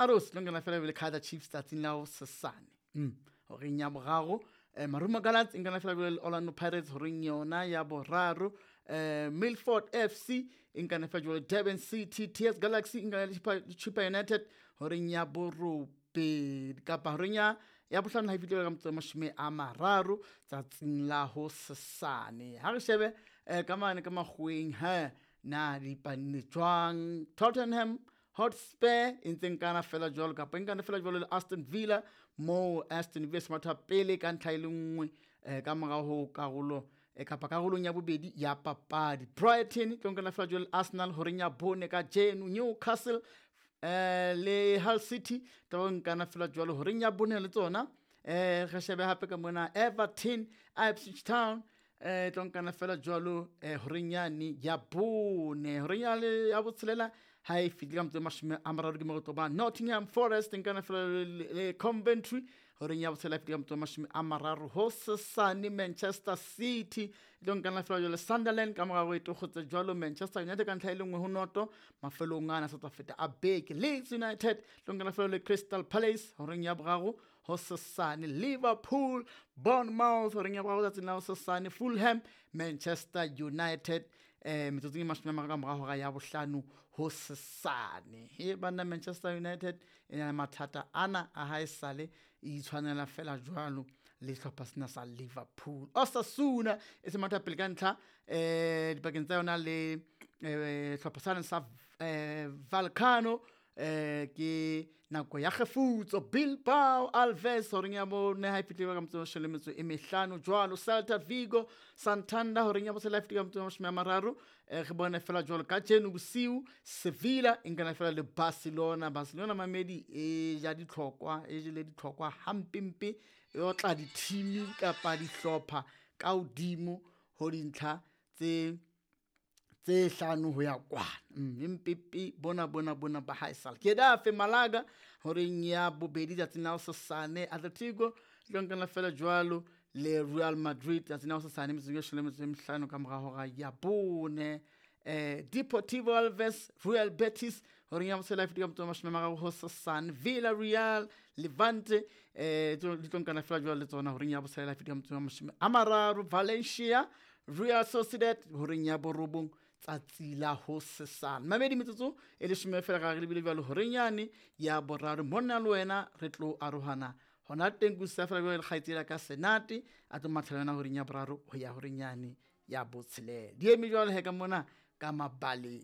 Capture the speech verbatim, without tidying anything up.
Arrows tlo nkana fela le Kaizer Chiefs tsatsing la hosasane. Mm. Horeng ya boraro eh, Marumo Gallants e nkana fela le Orlando Pirates horeng yona ya boraro. Eh, Milford F C e nkana fela jwale Durban City, T S Galaxy e nkana le Chippa United horeng ya borobedi kapa horeng ya ya bohlano ha e fihlile ka motso wa mashome a mararo tsatsing la hosasane. Ha re shebe eh, ka mane ka makgoweng he na dipanne jwang. Tottenham Hotspur e ntse nkana fela jwalo kapa e nkana fela jwalo le Aston Villa, moo Aston Villa se matha pele ka ntlha e le nngwe eh, ka morao ho karolo eh, kapa karolong ya bobedi ya papadi. Brighton e tlo nkana fela jwalo le Arsenal horeng ya bone kajeno. Newcastle eh, le Hull City tlo nkana fela jwalo horeng ya bone le tsona. Eh, re shebe hape ka mona Everton, Ipswich Town eh tlo nkana fela jwalo eh horeng yane ya bone. Horeng ya le ya botshelela ha e fihle ka motso wa mashome a mararo ke mo re tlo ba Nottingham Forest nkana fela le, le Coventry horeng ya botshelela e fihle ka motso wa mashome a mararo hosasane. Manchester City tlo nkana fela jwalo Sunderland ka morao e tokgotse jwalo Manchester United ka ntlha e le nngwe ho noto mafelong ana sa tswa feta a beke. Leeds United tlo nkana fela le Crystal Palace horeng ya boraro hosasane. Liverpool, Bournemouth horeng ya boraro tsatsing la hosasane. Fulham, Manchester United eh metsotsong e mashome a mararo ka mora hora ya bohlano hosasane. He banna, Manchester United e na le mathata ana a haesale e itshwanela fela jwalo le sehlopha sena sa Liverpool. Osasuna e se matha pele ka ntlha eh dipakeng tsa yona le eh sehlopha sane sa eh Vallecano eh ke nako ya kgefutso. Bilbao Alves horeng ya bone ha e fihlile ka motso wa leshome le metso e mehlano jwalo. Celta Vigo Santander horeng ya botshelela ha e fihlile ka motso wa mashome a mararo. Eh, re bone fela jwalo kajeno bosiu Sevilla e nkana fela le Barcelona. Barcelona mamedi e ja ditlhokwa, e jele ditlhokwa hampempe, e otla di-team kapa dihlopha ka hodimo ho dintlha tse tse hlano ho ya kwana. Mm, empepe bona bona bona ba haesale. Getafe Malaga horeng ya bobedi tsatsing la hosasane. Atletico tlo nkana fela jwalo le Real Madrid tsatsing la hosasane metsotso e leshome le metso e mehlano ka mora hora ya bone. Eh, Deportivo Alves Real Betis horeng ya botshelela e fihlile ka motso wa mashome a mararo hosasane. Villarreal Levante eh di tlo nkana fela jwalo le tsona horeng ya botshelela e fihlile ka motso wa mashome a mararo. Valencia Real Sociedad horeng ya borobong tsatsi la hosasane. Mamedi metsotso e leshome fela ga re lebile jwalo horeng yane ya boraro. Monna le wena re tlo arohana hona teng kusa fela jwalo le kgaitsedi ka Senate a tlo mathela yona horeng ya boraro ho ya horeng yane ya botshelela. Di eme jwalo he ka mona ka mabaleng.